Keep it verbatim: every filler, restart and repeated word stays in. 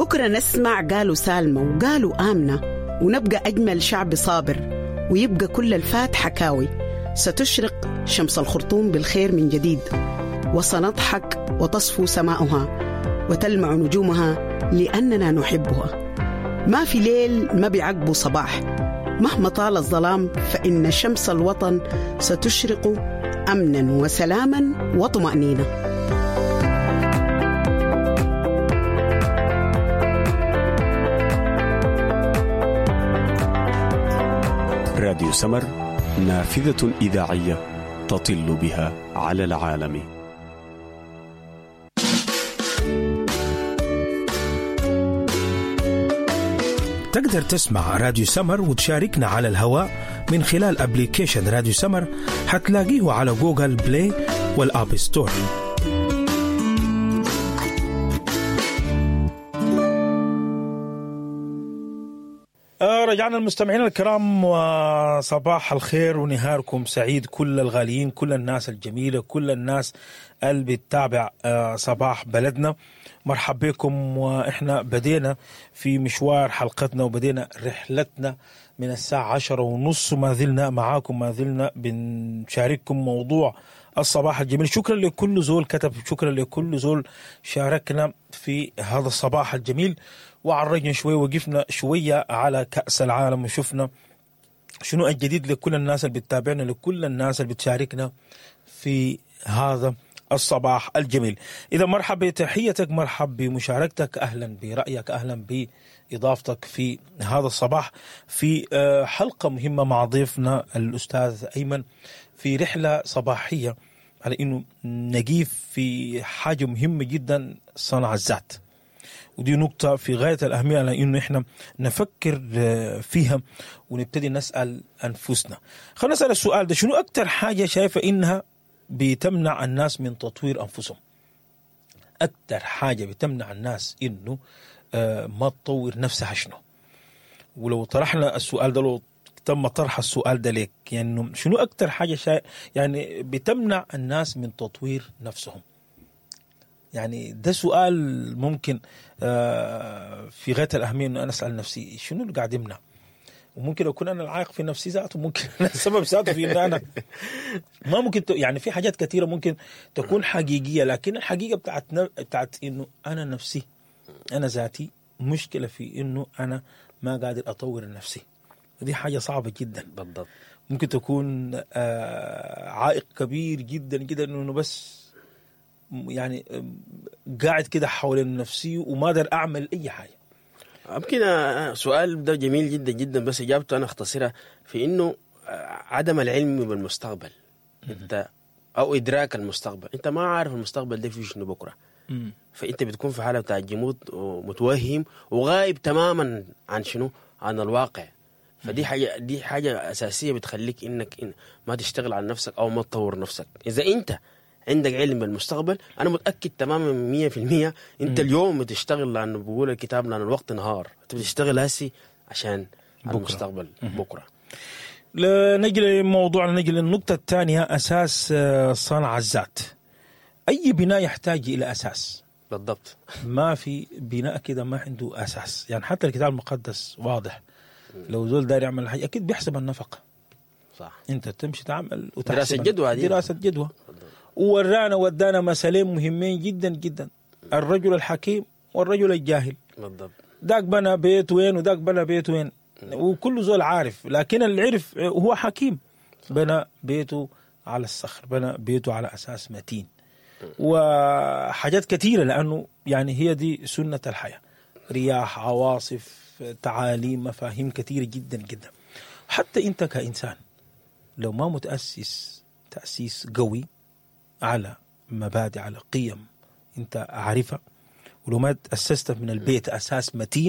بكرة نسمع قالوا سالمة وقالوا آمنة، ونبقى أجمل شعب صابر، ويبقى كل الفات حكاوي. ستشرق شمس الخرطوم بالخير من جديد، وسنضحك وتصفو سماؤها وتلمع نجومها لأننا نحبها. ما في ليل ما بيعقبه صباح، مهما طال الظلام فإن شمس الوطن ستشرق أمنا وسلاما وطمأنينة. راديو سمر، نافذة إذاعية تطل بها على العالم. تقدر تسمع راديو سمر وتشاركنا على الهواء من خلال application راديو سمر، حتلاقيه على Google Play وال App Store. رجعنا المستمعين الكرام، وصباح الخير ونهاركم سعيد كل الغاليين، كل الناس الجميلة، كل الناس اللي بتتابع صباح بلدنا. مرحب بكم، وإحنا بدينا في مشوار حلقتنا وبدينا رحلتنا من الساعة عشرة ونص، ما زلنا معاكم، ما زلنا بنشارككم موضوع الصباح الجميل. شكرا لكل زول كتب، شكرا لكل زول شاركنا في هذا الصباح الجميل، وعرجنا شوية، وقفنا شوية على كأس العالم وشفنا شنو الجديد لكل الناس اللي بتتابعنا، لكل الناس اللي بتشاركنا في هذا الصباح الجميل. إذا مرحب بتحيتك، مرحب بمشاركتك، أهلا برأيك، أهلا بإضافتك في هذا الصباح في حلقة مهمة مع ضيفنا الأستاذ أيمن في رحلة صباحية على إنه نجيب في حاجة مهمة جدا، صنع الذات. ودي نقطة في غاية الأهمية على إنه إحنا نفكر فيها ونبتدي نسأل أنفسنا. خلينا نسأل السؤال ده، شنو أكتر حاجة شايفة إنها بتمنع الناس من تطوير أنفسهم؟ أكتر حاجة بتمنع الناس إنه ما تطور نفسها شنو؟ ولو طرحنا السؤال ده، لو تم طرح السؤال ده لك، يعني شنو أكتر حاجة شا... يعني بتمنع الناس من تطوير نفسهم؟ يعني ده سؤال ممكن في غاية الأهمية إنه أنا أسأل نفسي شنو اللي قاعد يمنع، وممكن أكون أنا العائق في نفسي ذاته، ممكن أنا السبب ذاته في إن أنا ما ممكن ت... يعني في حاجات كثيرة ممكن تكون حقيقية، لكن الحقيقة بتاعت بتاعت إنه أنا نفسي، أنا ذاتي مشكلة في إنه أنا ما قادر أطور نفسي، ودي حاجة صعبة جدا. بالضبط. ممكن تكون عائق كبير جدا جدا إنه بس يعني قاعد كده حول نفسي وما أقدر أعمل أي حاجة. يمكن سؤال ده جميل جدا جدا، بس إجابته أنا أختصرها في إنه عدم العلم بالمستقبل، أنت أو إدراك المستقبل، أنت ما عارف المستقبل ده فيه شنو بكرة، فأنت بتكون في حالة بتاع جمود ومتوهم وغايب تماما عن شنو، عن الواقع. فدي حاجة، دي حاجة أساسية بتخليك إنك إن ما تشتغل على نفسك أو ما تطور نفسك. إذا أنت عندك علم بالمستقبل، أنا متأكد تماما مية في المية أنت اليوم بتشتغل، لأنه بقول الكتاب لأن الوقت نهار، أنت بتشتغل هسي عشان بكرة. المستقبل بكرة. نجي لموضوعنا، نجي للنقطة الثانية، أساس صنع الذات. أي بناء يحتاج إلى أساس. بالضبط. ما في بناء كده ما عنده أساس، يعني حتى الكتاب المقدس واضح، لو زول داير يعمل حاجة أكيد بيحسب النفقة. صح. أنت تمشي تعمل وتحسب دراسة جدوى، دراسة جدوى. وورانا ودانا مثلين مهمين جدا جدا، الرجل الحكيم والرجل الجاهل. بالضبط. داك بنى بيت وين وداك بنى بيت وين، وكل زول عارف، لكن اللي عرف هو حكيم، بنى بيته على الصخر، بنى بيته على أساس متين وحاجات كثيرة، لأنه يعني هي دي سنة الحياة، رياح، عواصف، تعاليم، مفاهيم كثيرة جدا جدا. حتى أنت كإنسان لو ما متأسس تأسيس قوي على مبادئ، على قيم أنت عارفها، ولو ما تأسست من البيت أساس متين،